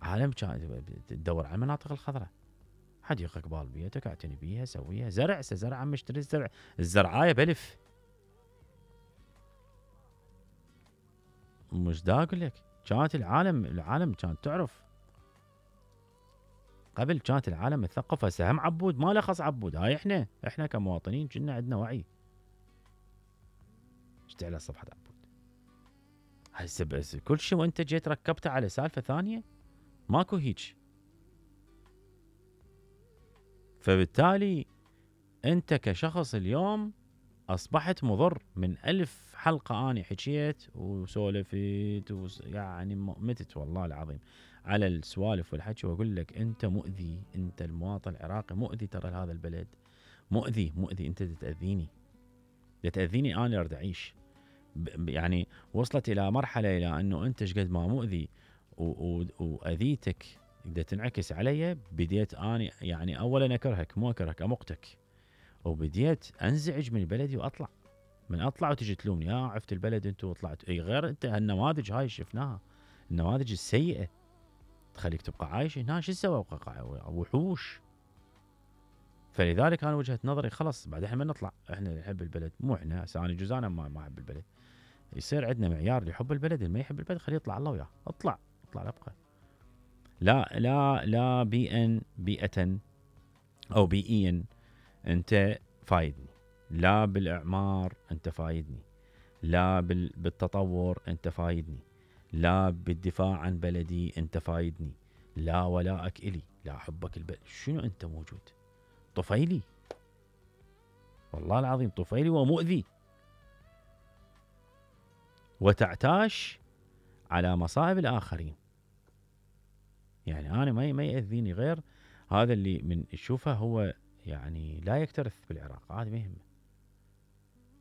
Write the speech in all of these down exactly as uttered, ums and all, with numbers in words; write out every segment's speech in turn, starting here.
عالم كان تدور على المناطق الخضراء، حديقة قبال بيتك اعتني بيها سويها، زرع زرع عم اشتري الزرع، الزرعايه بلف. مش دا اقول لك كانت العالم العالم كانت تعرف قبل، كانت العالم مثقفه. هسه هم عبود ما له خص عبود، هاي احنا احنا كمواطنين كنا عندنا وعي. اشتي على صفحه عبود هسه بس كل شيء وانت جيت ركبته على سالفه ثانيه ماكو هيج. فبالتالي انت كشخص اليوم اصبحت مضر. من ألف حلقه اني حكيت وسولفت وس يعني متت والله العظيم على السوالف والحكي، واقول لك انت مؤذي، انت المواطن العراقي مؤذي ترى لهذا البلد، مؤذي مؤذي. انت تاذيني تاذيني انا اريد اعيش. يعني وصلت الى مرحله الى انه انت ايش قد ما مؤذي واذيتك بدها تنعكس علي، بديت اني يعني اولا اكرهك، مو اكرهك امقتك، وبديت انزعج من بلدي واطلع. من اطلع وتجي تلومني يا عفت البلد انت وطلعت. اي غير انت هالنماذج هاي شفناها، النماذج السيئه تخليك تبقى عايش هنا. شو تسوي؟ وحوش. فلذلك انا وجهه نظري خلص بعد احنا ما نطلع، احنا نحب البلد، مو احنا هسه انا جزء انا ما احب البلد. يصير عندنا معيار لحب البلد، اللي ما يحب البلد خليه يطلع الله وياه، اطلع اطلع لا ابقى. لا لا لا بيئا بيئة او بيئيا انت فايدني، لا بالاعمار انت فايدني، لا بالتطور انت فايدني، لا بالدفاع عن بلدي انت فايدني، لا ولائك الي، لا حبك البلد. شنو انت موجود؟ طفيلي والله العظيم، طفيلي ومؤذي، وتعتاش على مصائب الاخرين. يعني انا ما ما ياذيني غير هذا اللي من يشوفه هو يعني لا يكترث بالعراق، عادي ما يهمه.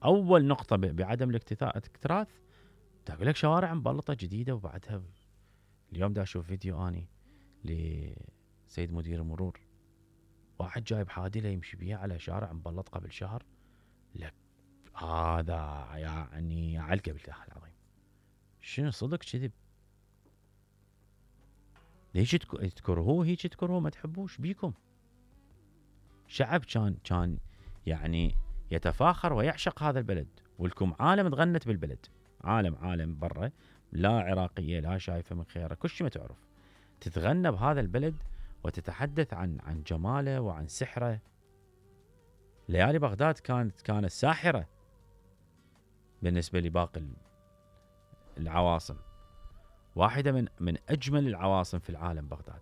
اول نقطه بعدم الاكتراث تقول لك شوارع مبلطه جديده، وبعدها اليوم دا اشوف فيديو اني لسيد مدير المرور، واحد جايب حادله يمشي بيها على شارع مبلط قبل شهر. لك هذا يعني علقه بالله العظيم، شنو صدق كذب؟ ليش تكرهوه هيك؟ تكرهوه ما تحبوش بيكم. شعب كان كان يعني يتفاخر ويعشق هذا البلد، ولكم عالم تغنت بالبلد، عالم عالم برا لا عراقيه لا شايفه من خيره، كل شيء ما تعرف تتغنى بهذا البلد وتتحدث عن عن جماله وعن سحره. ليالي بغداد كانت كانت ساحره بالنسبه لباقي العواصم، واحده من من اجمل العواصم في العالم بغداد.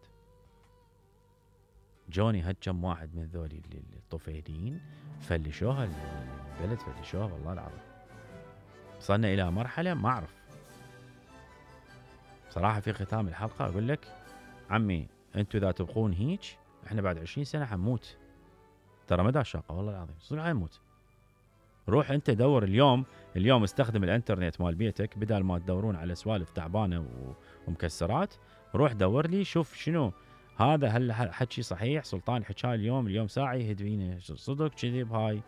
جوني هالكم واحد من ذولي الطفيليين فلشوها البلد، فلشوها والله العظيم. وصلنا الى مرحله ما اعرف صراحه. في ختام الحلقه اقول لك عمي انتم اذا تبقون هيك احنا بعد عشرين سنه حنموت، ترى ما دا شاقه والله العظيم صدق حنموت. روح انت دور اليوم، اليوم استخدم الانترنت مال بيتك بدل ما تدورون على سوالف تعبانه ومكسرات. روح دور لي شوف شنو هذا، هل حكي صحيح سلطان حكاه اليوم اليوم ساعه يهدوينه صدق كذب هاي؟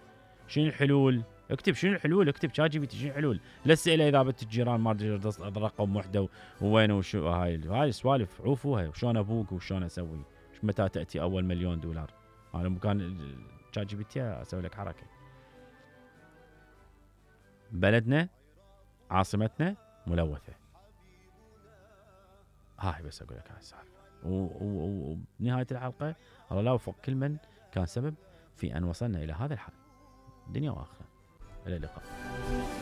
شنو الحلول؟ اكتب شنو الحلول، اكتب شات جي بي تي شنو الحلول، لا تساله اذا بنت الجيران ما ادري رقم وحده ووين وشو. هاي هاي السوالف عوفوها، وشلون ابوك وشلون اسوي، متى تاتي اول مليون دولار. انا مكان شات جي بي تي اسوي لك حركه. بلدنا عاصمتنا ملوثه، هاي بس اقول لك هاي السالفه. وبنهايه الحلقه الله لا يوفق كل من كان سبب في ان وصلنا الى هذا الحال، دنيا واخره. الى اللقاء.